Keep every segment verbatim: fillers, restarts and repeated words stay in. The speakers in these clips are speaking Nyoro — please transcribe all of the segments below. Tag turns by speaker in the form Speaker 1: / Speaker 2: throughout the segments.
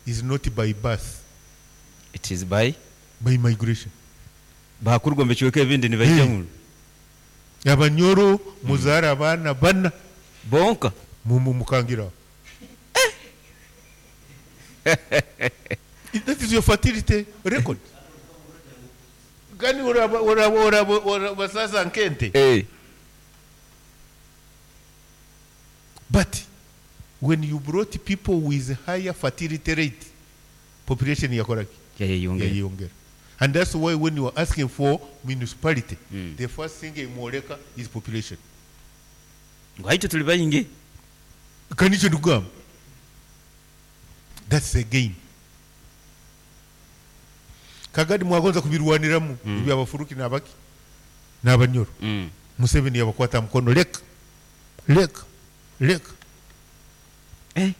Speaker 1: is not by birth.
Speaker 2: It is by
Speaker 1: by migration.
Speaker 2: Bakuruga omu bicweka ebindi nibaija
Speaker 1: Hey.
Speaker 2: muno.
Speaker 1: Abanyoro muzaara abaana bana
Speaker 2: bonka
Speaker 1: mu- mu- mukangiraho. That is your fertility record. Gani oraba oraba oraba oraba sasa nkente.
Speaker 2: Eh.
Speaker 1: But when you brought people with higher fertility rate, population yakoraki?
Speaker 2: Yayeyongera.
Speaker 1: Yayeyongera. And that's why when you are asking for municipality,
Speaker 2: Mm.
Speaker 1: the first thing emworeka is population.
Speaker 2: Ngu haitu tuli baingi.
Speaker 1: Kanikyo ndikugamba. That's a gain. Kagadi mwagonza kubirwaniramu
Speaker 2: Mm.
Speaker 1: ebyabafuruki n'abaki n'abanyoro.
Speaker 2: Mm.
Speaker 1: Museveni yabakwata mukono, leka leka leka.
Speaker 2: Eh.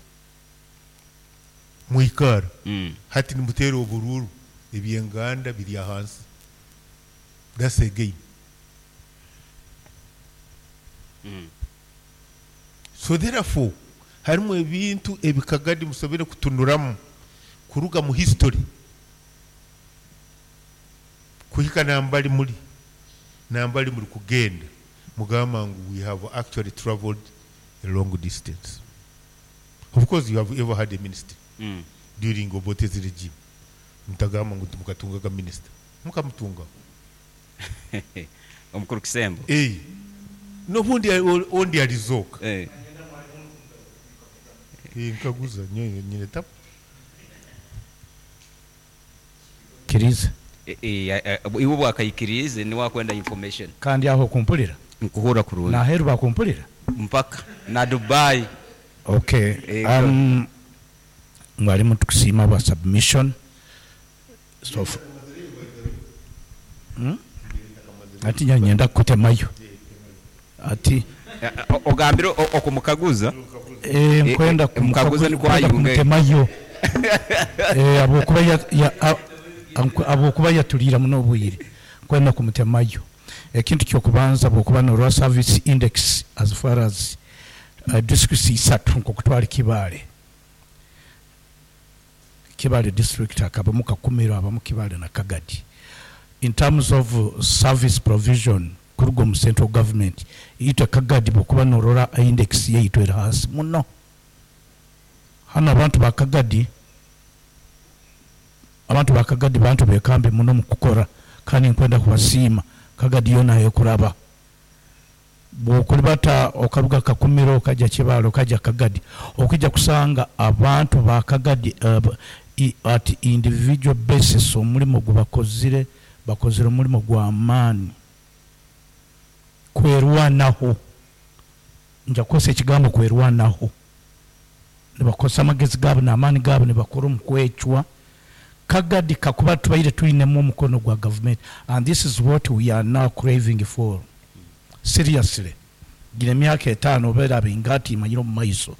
Speaker 1: Mwikara.
Speaker 2: Mm.
Speaker 1: Hati nimuteera oburuuru, ebyenganda biri ahansi. That's a gain.
Speaker 2: Mm.
Speaker 1: So therefore harimu ebintu ebikagadi musobere kutunuramu kuruga mu history kuhika nambali muri nambali muri kugenda, mugamba ngu we have actually traveled a long distance. Of course you have ever had a ministry
Speaker 2: Mm.
Speaker 1: during Obote's regime. Mutagamba ngu mukatungaga minister, mukamutunga.
Speaker 2: Omukuru Kisembo.
Speaker 1: Eh, nobundi ondi alizoka.
Speaker 2: Eh.
Speaker 1: Eh, nkaguza nyo nyine tapu.
Speaker 3: Kiriza.
Speaker 2: Eh, eh, eh, iwe bwakaikirize niwakwenda information.
Speaker 3: Kandi aho kumpulira.
Speaker 2: Nkuhura kurungi.
Speaker 3: Naheru bakumpulira.
Speaker 2: Mpaka na Dubai.
Speaker 3: Okay.
Speaker 2: Eh,
Speaker 3: um, mwalimu tukusiima bwa submission. So f- Hmm? Ati nyenda kutemayo. Ati
Speaker 2: Eh, eh, ogambire o- okumukaguza.
Speaker 3: Eh, nkwenda
Speaker 2: Eh, eh, mukaguza niko
Speaker 3: nkwenda
Speaker 2: ayunge.
Speaker 3: kumutemayo. Eh, abokuba ya, ya, a- anku- abokuba yatulira muno obwire nkwenda kumutemayo. Ekintu kyokubanza, bwokuba norwa service index as far as uh, districts isatu, nkokutwala Kibaale, Kibaale district akabamu Kakumiro, abamu Kibaale na Kagadi. In terms of uh, service provision kuruga omu central government, itwe Kagadi bwokuba norora index yaitu eri hansi muno. Hano abantu ba Kagadi, abantu ba Kagadi bantu bekambi muno mu kukora, kandi nkwenda kubasiima. Kagadi yona ekuraba bwokulibata okaruga Kakumiro okajja Kibaale okajja Kagadi, okujja kusanga abantu ba Kagadi uh, i, at individual basis omulimu gwe bakozire bakozire omulimu gwa maani kwerwanaho. Nja kukozesa ekigambo kwerwanaho. Nibakozesa amagezi gaabo n'amaani gaabo, nibakora omu kwecwa. Kagadi kakuba tubaire twinemu omukono gwa government, and this is what we are now craving for seriously. Gina emyaka etaano obeera bingati imanyire omu maiso.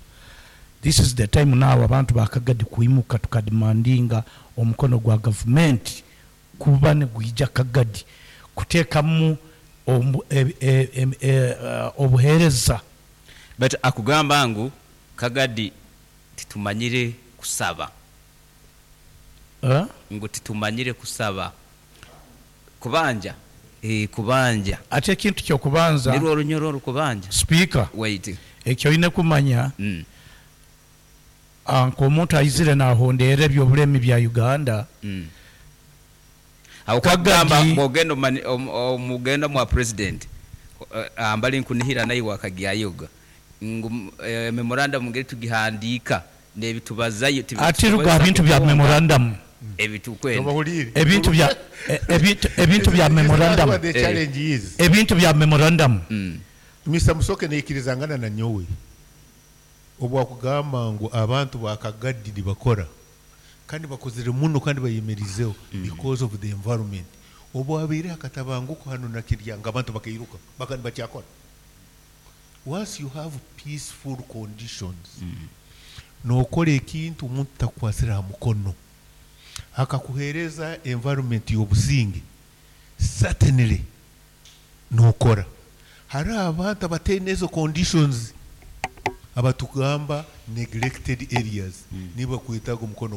Speaker 3: This is the time now abantu bakagadi kuimuka tukademandinga omukono gwa government kuba negwija Kagadi kuteekamu omu- e- e- e- e- uh, obuheereza.
Speaker 2: But akugamba ngu Kagadi titumanyire kusaba.
Speaker 3: Eh?
Speaker 2: Ngu titumanyire kusaba kubanja, eh, kubanja.
Speaker 3: Ate ekintu kyokubanza,
Speaker 2: nirwo orunyoro orukubanja.
Speaker 3: Speaker,
Speaker 2: wait.
Speaker 3: Ekyo olina kumanya,
Speaker 2: mm.
Speaker 3: ah, nk'omuntu ayizire nahondeera ebyobulemi bya Uganda.
Speaker 2: Mm. Awo
Speaker 3: Kagadi-
Speaker 2: kugamba bwogenda omani- om- omugenda mwa president, eh, ambali nkunihira naye wakagyayoga ngu eh, memorandum ngeri tugihandika nebitubazayo.
Speaker 3: Ate ruga bintu bya memorandum.
Speaker 2: Ebitukwenda.
Speaker 1: Tobahulire.
Speaker 3: Ebintu bya e- ebintu ebintu bya memorandum.
Speaker 1: What the challenge is.
Speaker 3: Ebintu bya memorandum.
Speaker 2: Mm.
Speaker 1: Mister Musoke neikirizangana na nyowe obwakugamba ngu abantu bakagadi nibakora kandi bakozere muno kandi bayemerizeho because of the environment. Obwabaire akatabanguko hano na kiryanga, abantu bakairuka bakandi bakyakora. Once you have peaceful conditions, nokora ekintu omuntu takukwasira ha mukono, akakuhereza environment y'obusinge, certainly nokora. Hari abantu abateine ezo conditions abatugamba neglected areas, niba kwetaga omukono.